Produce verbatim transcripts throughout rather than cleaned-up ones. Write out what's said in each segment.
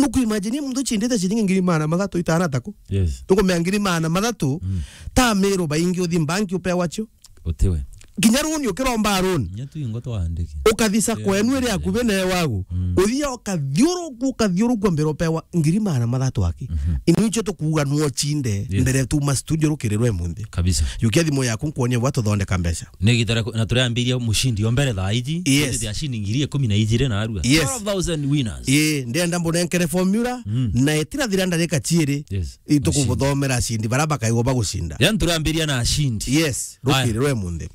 Nuku imagine muntu chindite ciringi ngiri magana mathatu itana taku. Yes. Nukumea ngiri magana mathatu, mm, ta mero baingi uthi banki upewa cio. Utiwe. Kinya runi ukiromba runi. Nya tu ingo twandike. Ukathisa, yeah, kwenu iri akubi na wagu. Mm. Uthia ukathiuruku, ukathiuruku mbere upewa ngiri magana mathatu aki. Mhm. Inu icio tukuuga nuo chinde, yes, mbere tuma studio rukirirwe munthi. Kabisa. Yukia thimu yaku nkuonie bwa tuthondeka mbeca. Ni gitara ku-, na turiambiria mushindi o mbere thaa iji. Yes. Tuti ya shilingi ngiri ikumi na ijiri na arua. Yes. Twelve thousand winners. Ii, ndienda mbunenkere formula, mm, na itirathira ndarika ciiri. Yes. Itukubuthomera ashindi bara bakaigwa bagucinda. Yani turiambiria na ashindi. Yes, aya, rukirirwe munthi.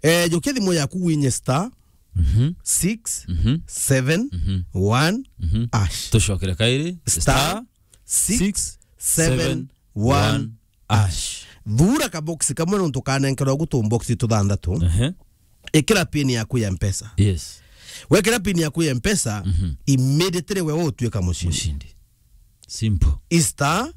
Eh, jukia thimu yaku winye star, mhm, six, mhm, seven, mhm, one, mhm, hash. Tucokere kairi. Star, star, six, seven, one, six, seven, one, hash. Thura ka box kamwe nontu kanenkerwa gutu box tuthanthatu. Ehe. Ikira pin yaku ya Mpesa. Yes. Wekira pin yaku ya Mpesa, mhm, immediately we utuika mushindi. Mushindi. Simple. Star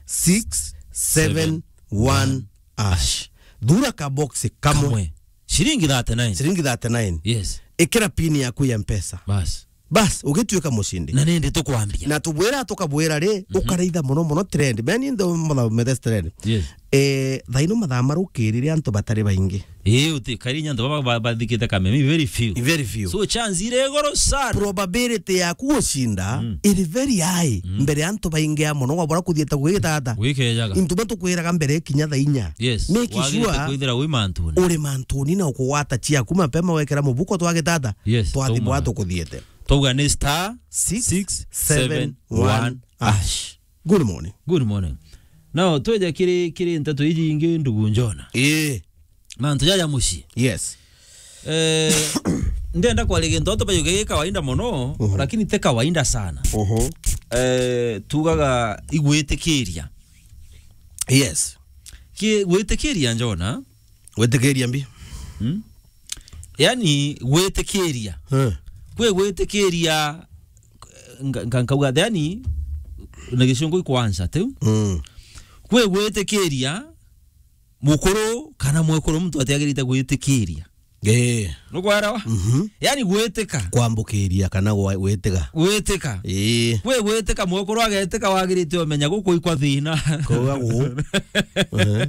six seven one hash. Thura ka box kamwe. Kamwe. Shilingi thirty-nine. Shilingi thirty-nine. Yes. Ikira pin yaku ya Mpesa. Bas. Bas, ugituika mushindi. Na nindi tukwambia. Na tubwira, tukabwira ri, mhm, ukaraitha muno muno trend. Meni ndo mutha mete trend. Yes. Eh, thaino mathaa marukirire antu batari baingi. Ii, uti kari nya antu baba ba-, bathikite kameme, very few. Very few. So chance iri iguru sana. Probability yaku gucinda, mm, iri very high, mm, mbere ya antu baingi a muno, wabura kuthiete gwitata. Gwikejaga. Intu batukwiraga mbere kinya thaa inya. Yes. Make sure wagirite kwithira wi mantuni. Uri mantuni na ukugwata ciaku mapema, wekira mubuko twagitata. Yes, twathi twauma bwa tukuthiete. Twauga ni star six seven one hash. Good morning. Good morning. Now, tweja kiri, kiri nteto iji ingi, ndugu Njona. Ii. Mantu jaja mucii. Yes. Eh, ndenda kwaria gintu antu baiuge gi kawaida mono, mhm, lakini ti kawaida sana. Mhm. Eh, tugaga igwitikiria. Yes. Ki gwitikiria, Njona? Gwitikiria mbi? Hmm? Yani, gwitikiria. Eh. Kwi gwitikiria, nga-, nga-, nkauga, yani, na gicungu ikwansa, tiu? Mm. Kwi gwitikiria mukuru kana mwekuru muntu atiagirite gwitikiria. Eh. Nukwarawa? Mhm. Yani, gwitika. Kwambukiria kana gwa-, gwitika. Gwitika. Eh. Kwi gwitika, mwekuru agetika, wagirite umenya guku ikwa thina. Kuga gu. Eh.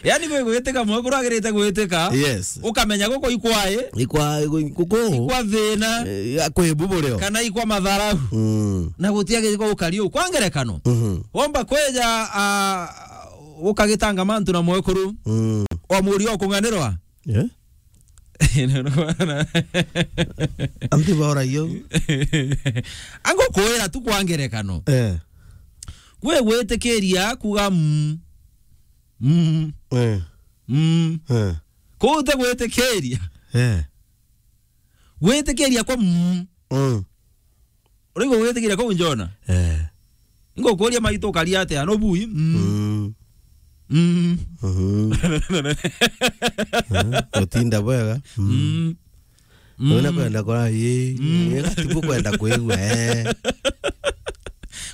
Yani, kwi gwitika, mwekuru agirite gwitika. Yes. Ukamenya guku ikwae. Ikwa, guku. Ikwa thina. Eh, ya kwi buburio. Kana ikwa matharau. Mm. Na gutiagirite gukari u. Kwa ngerekano. Mhm. Womba kweja, ah, ukagitanga mantu na mwekuru. Mm. Wamuria ukung'anirwa. Eh? Anti bauragia u. Angukwira tu kwa ngerekano. Eh. Gwi gwitikiria kuga mm. Mm. Eh. Mm. Eh. Kuu ti gwitikiria. Eh. Gwitikiria kwa mm. Mm. Uraigua gwitikiria kuu, Njona? Eh. Ngukuria, maitu ukaria atia? No bui? Mm. Mm. Mm. Mhm. Eh, utinda bwega. Mm. Mm. Wina kwenda kora, ii, mm, ii, tibu kwenda kwigua, eh.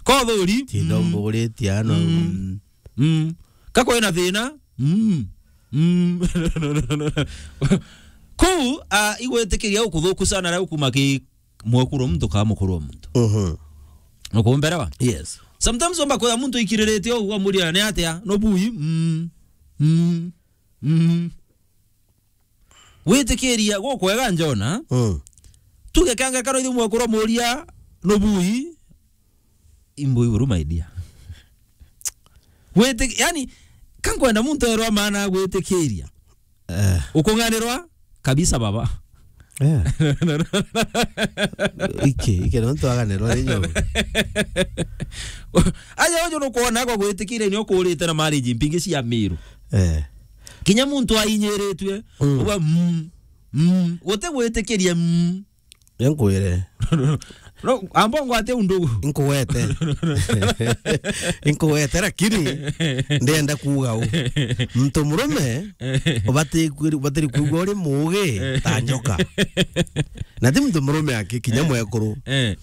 Kothuri? Tinda, mm, umburitie ano. Mm. Mm. Mm. Ka kwina thina? Mm. Mm. Kuu, ah, igwitikiria ukuthuku sana ria ukuma ki mwekuru wa muntu kana mukuru wa muntu. Mhm. Nukumberewa? Yes. Sometimes wamba kwira muntu ikiriritie uguo, amuria, "Ni atia? No bui?" Mm. Mm. Mm. Gwitikiria gukwega, Njona. Mm. Tuge kanga karo ithu mwekuru amuria, "No bui?" Imbo iguru, my dear. Gwiti-, yani, ka nkwenda muntu erwa maana gwitikiria. Eh. Ukung'anirwa kabisa, baba. Eh. Iki, iki, no twaganirwa ni nyo. Aja uju nukwona kwa gwitikiria ni ukurite na marriage mpingi cia Miru. Eh. Kinya muntu ainyiritwe, mm, uga, mm, mm, guti gwitikiria, mm. Nkwire. No, amba ngwate undu. Nkugwete. Nkugwete, lakini ndenda kuuga u. Muntu murume, ubati kwiri-, ubatiri kuigua uri muugi ta njoka. Na ti muntu murume aki, kinya, eh, mwekuru. Eh.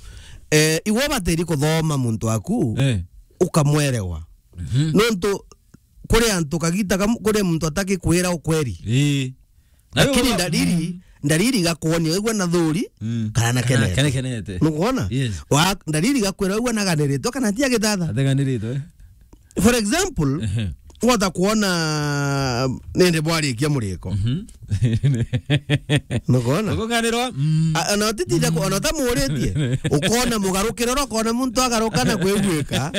Eh, iwe ubatiri kuthoma muntu waku, eh, ukamwerewa. Mhm. Nontu kuri antu kagita kam-, kuri muntu atagikwira ukweri. Ii. Lakini, nawe uga-, dalili, mm, ndariri igakwonia wigua na thuri, Mm. kana na Kana, kenete. kana kenete. Nukwona? Yes. Wa, ndariri igakwira wigua na ganiritwe kana ti agithatha. Ateganiritwe. For example, Ehe. wota kwona nende bwarikia muriko. Mhm. Nukwona? Ukunganirwa, mm. A, ona utitinde ku-, ona utamuritie, ukona mugarukiro ro, ukona muntu agaruka na kwiguika.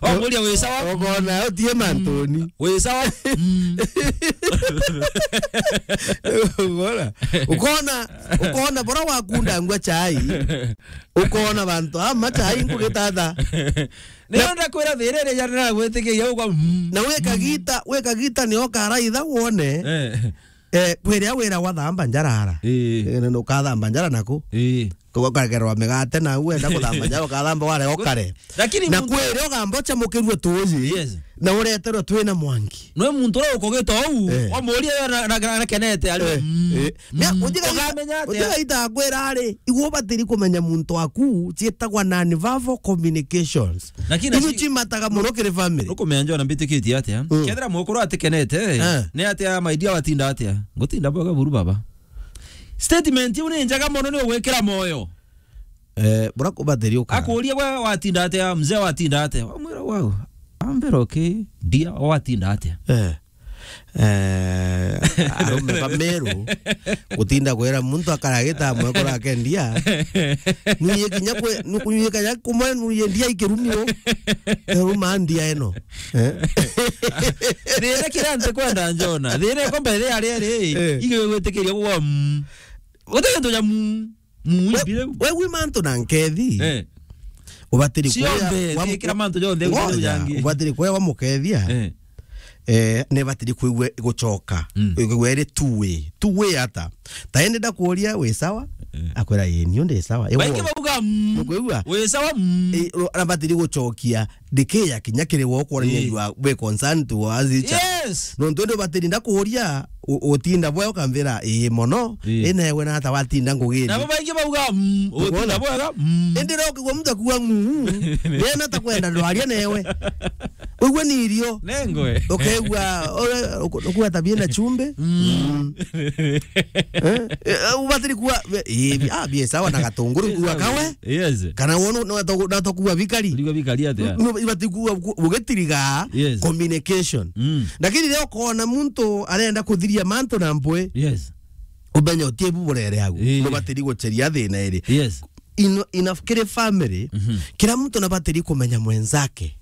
Omuria, "Wi sawa?" Ukona utie mantuni. "Wi sawa?" Mm. Ukona? Ukona, ukona bora wakunda ngwa chai. Ukona bantu ama chai ngugitata. Ni onda kwira thirire jana na gwitikiria ugwa, mm. Na wikagita, wikagita ni okaraitha wone. Eh. Eh, kwiria wira gwa thamba njara ara. Ii. Eh, na ukathamba njara naku. Ii. Ukagerwa migate na wenda kuthamba njara, ukathamba ware okare. Lakini Na muntu kwiria ugamba uchamukirue tuji. Yes. Na ureterwe twina mwangi. Nwe muntu uria ukugita uu, Eh. wamuria yo na, na, na, na kenete, ari, Eh, mm, eh. Nia, mm. Ujiga ita-, Ukamenya atia? Ujiga ita akwira ari, igwe ubatiri kumenya muntu waku, cietagwa non-verbal communications. Lakini Ibu aci- cimataga muno kiri family. Ukumenya njona mbitikitie atia? Mm. Kethira mwekuru atikenete, Eh. ni atia my dear watinda atia? Ngutinda bwega buru baba. Statement iu ni njega muno, ni ugwikira moyo. Eh, bura kubatiri uka. Akuuria, "We watinda atia? Mzee watinda atia?" Wamwira, "Wow, I'm very okay, dear, watinda atia?" Eh. Eh, arume ba Meru, gutinda kwira muntu akaragita mwekuru ake ndia. Nuye kinya kwe, nu-, nuye kinya kumwe nuye ndia ikirumio. Eruma ndia eno. Eh? Thina kiria ntikwenda njona. Thina iko mbere ari ari, Eh. igwe gwitikiria kugwa, mm. Guti kintu ja, mm. Mm, we, imbire u. We wi mantu na nkethi. Eh. Ubatiri Cionthe, kuya wa mu-, thikira mantu jonthe, ngoja, uria jangi. Ubatiri kuya wa mukethia. Eh. Eh, ni batiri kuigua gucoka. Mm. Kuigua iri two way. Two way ata? Ta indi ndakuria, "Wi sawa?" Eh. Akwira, "Ii, niu ndi sawa." Baingi bauga, mm. Nukwigua? "Wi sawa?" Mm. Eh, ro-, na batiri gucokia. Ndikiya kinya kiri we ukwonania Ii. you are, we concerned towards each other. Yes. Nontu ndi ubatiri ndakuria, u-, utinda bwe ukamvira, "Ii mono, Ii. Ii newe nata watinda ngugiri?" Nabo baingi bauga, "Mm, utinda Ukwona? Bwega, mm." Indi ro ukigua muntu akua, "Mm, nena ta kwenda ndwaria newe." Uigua ni irio. Nengwe. Ukaigua, ore-, uku-, ukua tabia na chumbe. Mm. Mm. Eh? Eh, ubatiri kuwa, ii, ah, bie sawa na gatunguru kuwa kawe. Yes. Kana wono, no to, no to kuwa bikari. Kuwa bikari atia? No, ibati kuwa, ku-, ugitiriga Yes. communication. Mm. Lakini leo kona muntu arenda kuthiria mantu na mpwe. Yes. Umenye utie bu burere agu. Eh. No batiri gucheria thina iri. Yes. In, in a, kiri family, Mhm. kila mtu nabatiri kumenya mwenzake.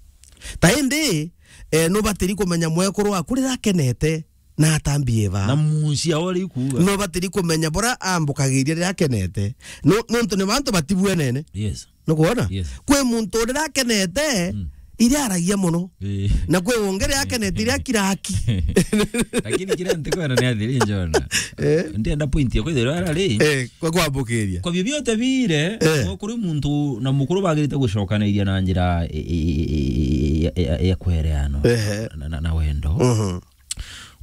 Ta indi, eh, no batiri kumenya mwekuru waku riria akenete. Na atambie ba. Na mucia ori kuuga. No batiri kumenya bura ambukagiria riria akenete. No, nontu ni bantu batibwenene. Yes. Nukwona? Yes. Kwi muntu riria akenete, Mm. iria aragia muno. Eh. Na kwi ungi riria akenete, iria kiraki. Lakini kiria ntikwenda ni athiri njona. Eh. Ndienda point ya kwithirwa ara ri. Eh, kwa kwambukiria. Kwa vyovyote vile, Eh. no kuri muntu na mukuru bagirite gucokanairia na njira e, e, e, e, ya, ya, ya kwereano. Ehe. Na, na, na wendo. Mhm.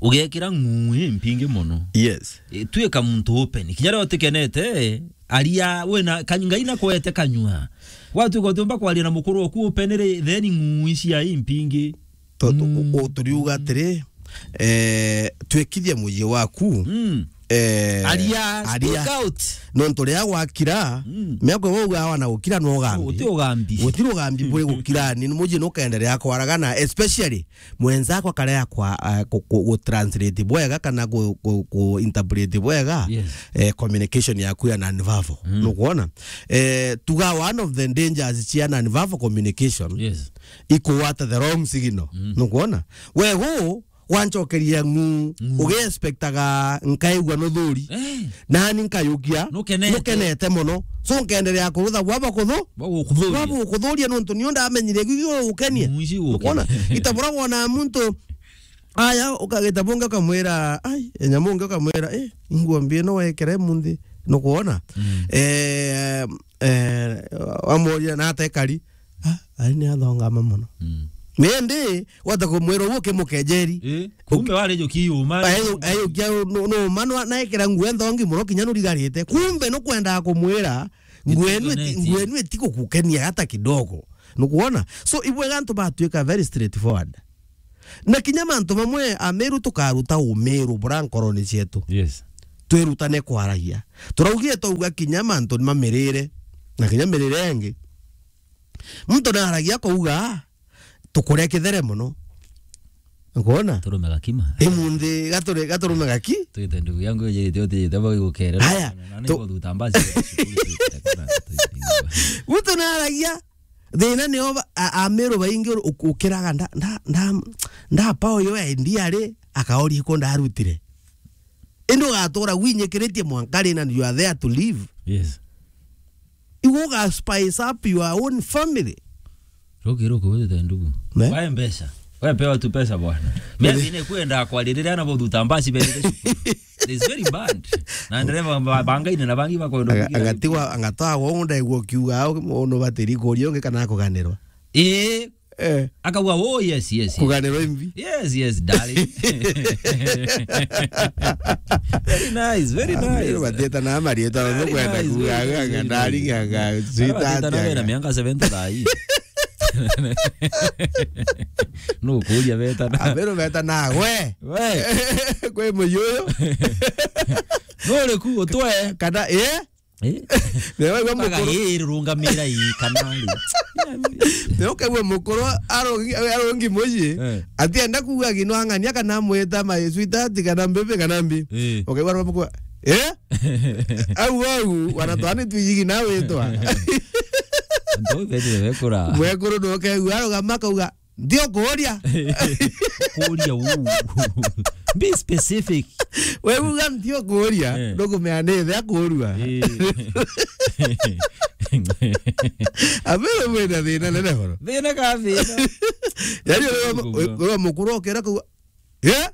Ugekira ng'uu impingi mono. Yes. E, tuika muntu open. Kinya riria utikenete, aria, wina, ka-, Ngai nakwete kanyua. Watuika utiumba kwaria na mukuru oku open ri, then ng'uu cia impingi. To-, to-, Mm. u-, u-, turiuga atiri, eh, twikithie mucii waku. Mm. Eh, Aria, aria. Speak out. Nontu riria gwakira, Mm. miako we ugawa na gukira no ugambi. Uti ugambi. Gutiri ugambi buri gukira, ni mucii nukenderea kwaragana, especially mwenzako akarega kwa, eh, ku, ku, ku translate bwega kana ku, ku, ku interpret bwega, Yes. eh, communication yaku ya non-verbal. Mm. Nukwona? Eh, tuga one of the dangers cia non-verbal communication Yes. ikugwata the wrong signal. Mm. Nukwona? We gu, wanchokeria ng'uu, Ng'uu. Ugi-expectaga nkaigua nuthuri. Eh. Nani nkayukia, Nukenete. Nukenete mono. So nkenderea kurutha bwaba kuthu-, Bwa gukuthuria. Bwaba gukuthuria nontu nio ndamenyire gigio gukenia. Ng'uu ici gukenia. Ukwona? Itabura wona muntu, aya, ukagita bungi ukamwira, ai, enyamu ungi ukamwira, eh, ingua mbi ino wekere munthi. Nukwona? Mm. Eh, eh, wamuria na atekari. Ah, ari ni athongama mono. Mm. Nindi, wata kumwira uguo ukimukejeri. Eh, kumbe wari juki yuma. Ayo, ayo kia no, no, manwa na ekira nguu nthongi mono kinya nurigarite. Kumbe nukwenda kumwira, nguu enu iti-, Itiganeti. Nguu enu itigukukenia hata kidogo. Nukwona? So, ibwega antu batuika very straightforward. Na kinya mantu mamwe Ameru tukaruta umiru bura nkoroni cietu. Yes. Twirutane kwaragia. Turaugire twauga kinya mantu ni mamirire, na kinya mirire ingi. Muntu naragia akauga, "Ah, tukuria kithere muno." Ukwona? Turume gakima. Imunthi gature-, gaturume gaki? Twite ndugu yangu ejirite utijite bau igukere. Aya, na tu- niguthuta mbasi. Muntu naragia, thina ni oba, a-, Ameru baingi u-, ukiraga nda-, nda-, nda-, ndapa uyu endi ari, akaoria ku ndarutire. Indi ugatura winyikiritie mwanka ri na you are there to live. Yes. Iwe uga spice up your own family. Ruki, ruki, wewe thanduku. Ne? Wae mbeca. Wewe pewa tu pesa bwana. Mimi ni kwenda kwa riri ana bothuta mbasi berire cukuru. It's very bad. Na ndereva ba-, bangaine na bangi bakwenda Aga-, kugira agatiwa, agatawa wonda igwo kiuga, au, ono batiri kuria ungi kana kuganirwa. Eh. Eh. Akauga, "Oh, yes, yes, yes." Kuganirwa imbi. Yes, yes, darling. Very nice, very nice. Batieta na marieta, very nice, very nice, very nice. Ndari gaga, sweetheart, batieta na wena miaka seventy thaa hii. No kuria beta na. Abero beta na, we. We. Kwe muyo uyu. No ri ku utwe. Kana, eh? Eh? Nä waigua må kå rå. Mpaka ĩrũngamĩra ii kana rĩ. Nä å kaigua må kå rå arongi, arongi må ciä. Eh. Atienda kuuga gino ang'ania kana mwita my sweetheart kana mbibi kana mbi. Eh. Å kaigua aromå kå, eh? Au, au, wanatwani twiyigi na witwa. Ndo bethire wekura. Mwekuru ndo kaigua arogama akauga, "Ndio kuuria." Kuuria uu. Be specific. We uga, "Ndio kuuria." Eh. Ndukumea ni ithe akuurua. Eh. Abere mwina thina nene boro. Thina ka thina. Yani, we mukuru okera kuuga, "Eh?"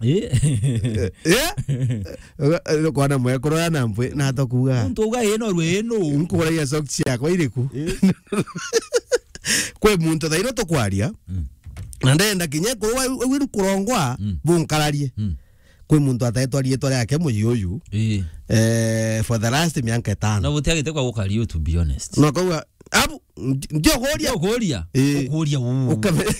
Eh? Eh? Eh? Kwana mwekuru ya na mpwi, na atokuga. Muntu uga ino rwe ino. Nkuragia socks ciakwa iriku? Eh? Kwi muntu thaino tukwaria, mm, na ndenda kinya kurwa, kurongwa, mm, bunkararie. Mm. Kwi muntu ataetwa rietwa riake muyi uyu, eh, eh, for the last miaka itano. Na gutiagite kwa gukario, to be honest. No kauga, abu, ndi-, ndiokuria. Ndiokuria. Eh. Ukuria uu. Ukame-,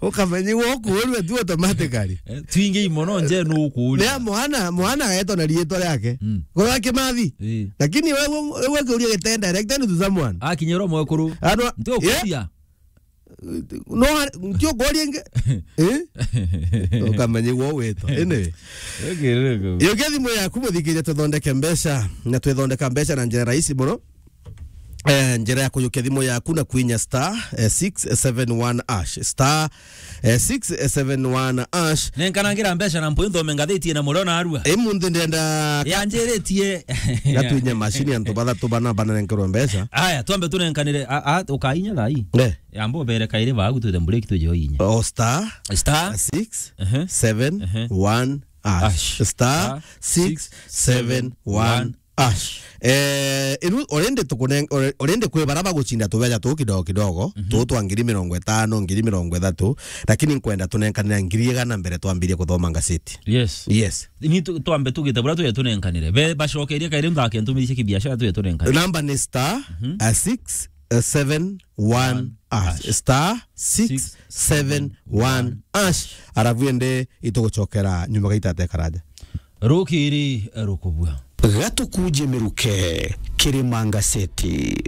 ukamenyigwa ukuurua tu automatically. Eh, twingi imono nje nu ukuuria. Ni mwana, mwana agetwa na rietwa riake. Mm. Korwa Kimathi. Eh. Lakini wewe, wewe ukiuria gitenda direct to someone. Akinyirwo mwekuru. Ano, ndio ukuuria. No, ndio kuuria ingi. Eh? Ukamenyigwa witwa. Ene. Okay, okay. Iyo thimu yaku muthikiria tuthondeke mbeca, na twithondeka mbeca na njira rahisi muno. Eh, njira ya kuyukia thimu yaku na kwinya star, eh, six seven one hash. Star, eh, six seven one hash. Nenkanangira mbeca na mpwi nthome ngathiti na murio narua. Eh, munthi ndenda ka- Yanjiritie. Gatwinye mashini antu bathatu bana bananenkerwe mbeca. Aya, twambe tunenkanire, a, a, ukainya thaa ii. Eh. Yamba ubere kairi baagu twite break tuje oinya. O star, star, six, ehe, seven, ehe, one, hash. Hash. Star, star, six, seven, one, hash. Eh, iru, already tukunen-, alre-, already kwi bara bagucinda tubeca tuu kidogo kidogo, mhm, tuu twa ngiri mirongo itano, ngiri mirongo ithatu, lakini nkwenda tunenkanira ngiri igana mbere twambirie kuthoma ngaseti. Yes. Yes. Ni tu-, twambe tugite bura tuje tunenkanire. Be-, bacokerie kairi nthake ntumirishe kibiashara tuje tunenkanire. Namba ni star, mhm, a six, a seven, one hash. Hash. Star six seven one hash. Arabu ende itugucokera nyuma gaita atekaraja. Rukiri rukubua. Gatukuje miruke, Kirima Ngaseti.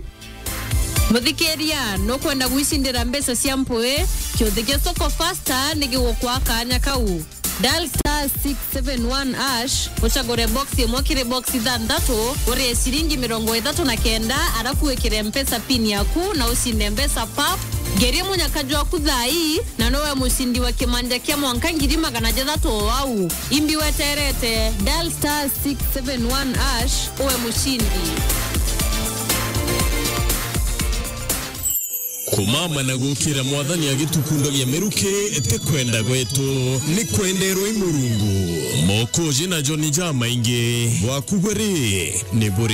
Muthikiria, nukwenda gwicindira mbeca cia mpwi? Kiuthi kia Soko Fasta ni gigukwa kanya kau. Dial star six seven one hash, ucagure box imwe kiri box ithanthatu, urie ciringi mirongo ithatu na kenda, arafu wikire Mpesa pin yaku na ucinde mbeca pap. Ngerie munyaka jwaku thaa ii, na nowe mucindi wa kimanja kia mwanka ngiri magana jathatu o au. Imbi weterete, dial star six seven one hash, uwe mucindi. Kumama na gukira Mwathani agitukundagia miruki ti kwenda gwetu, ni kwenderwa i Murungu. Mokoji na Joni jamaingi bwakugwe ri, ni buri